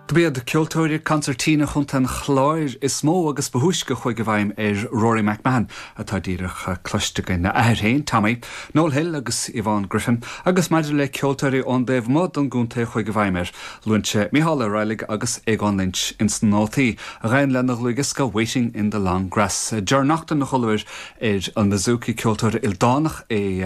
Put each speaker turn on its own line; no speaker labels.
Dob iad ceoltóirí consairtín Chontae an Chláir is mó agus ba thúisce a chuaigh i bhfeidhm ar Rory McMahon, atá díreach cloiste againn, a athair féin, Tommy, Noel Hill agus Yvonne Griffin, agus maidir le ceoltóirí ón dtaobh amuigh den gcontae a chuaigh i bhfeidhm air, luann sé Mícheál Ó Raghallaigh agus Aogán Lynch ins na nótaí a ghabhann lena dhlúthdhiosca Waiting in the Long Grass. Ger Naughton a chualamar ar an mbouzouki, ceoltóir ildánach é.